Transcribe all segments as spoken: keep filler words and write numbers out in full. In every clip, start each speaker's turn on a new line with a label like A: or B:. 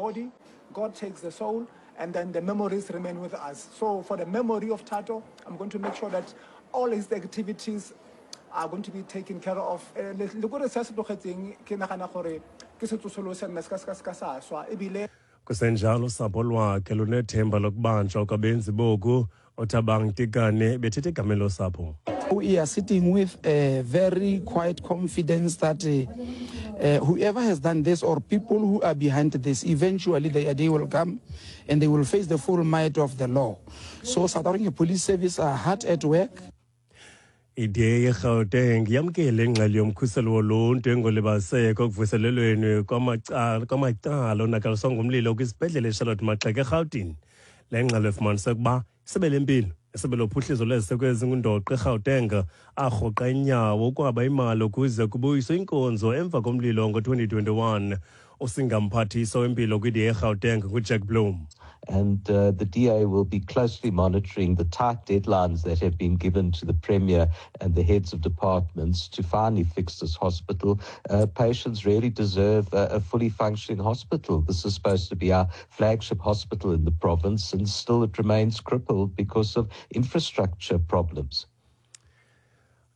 A: body, God takes the soul, and then the memories remain with us. So for the memory of Thato, I'm going to make sure that all his activities are going to be taken care of. Eh, le le kore se a se tlogetseng ke nagana gore ke setsosolose nna se ka se ka se ka sa swa ebile
B: Kusenjalo, usapho lwakhe lunethemba lokubanjwa kwabenzi boku. Othabang Tikane bethethe egameni losapho.
C: We are sitting with a very quiet confidence that uh, uh, whoever has done this or people who are behind this, eventually the day will come and they will face the full might of the law. So South African Police Service are hard at work.
B: I-D A yeGauteng yamkele ingxelo yomkhuselo woluntu engolibaziseko ekuvuselelweni kwamacala kwamacala onakaliswa ngumlilo kwisibhedlele eCharlotte Maxeke eRhawutini. Le ngxelo ifumanise ukuba isebe lempilo, isebe lophuhliso lweziseko ezingundoqo eGauteng arhoqa inyawo ukwaba imali ukuze kubuyiswe inkonzo emva komlilo ngo-twenty twenty-one. Usingamphathiswa wempilo kwi-D A eGauteng nguJack Bloom.
D: And uh, the D A will be closely monitoring the tight deadlines that have been given to the Premier and the heads of departments to finally fix this hospital. Uh, patients really deserve a, a fully functioning hospital. This is supposed to be our flagship hospital in the province, and still it remains crippled because of infrastructure problems.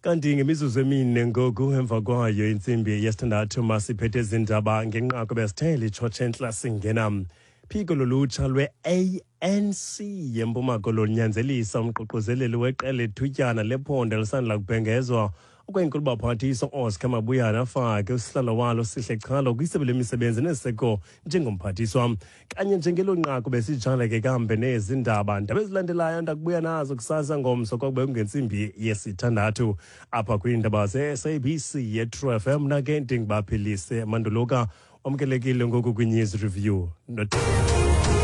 B: Kanti ngemizuzu emine ngoku emva kwayo intsimbi yesithandathu, masiphethe ezindaba ngenqaku besithe litshotshe entla singena. Phiko lolutsha lwe-A N C yeMpuma Koloni lunyanzelisa umququzeleli weqela ethutyana lephondo elisandula kubhengezwa okwenkulu-baphathiswa Oscar Mabuyane afake usihlalo walo Sihle Chalo kwisebe lemisebenzi neseko njengomphathiswa. Kanye njengelo nqaku besijala ke kambe nezi ndaba. Ndaba ezilandelayo ndakubuya nazo kusasa ngomso kwakube kungentsimbi yesithandathu apha kwiindaba ze-S A B C ye-True F M. Nake ndingubaphilise Manduluka, wamkelekile ngoku kwi-News Review. Not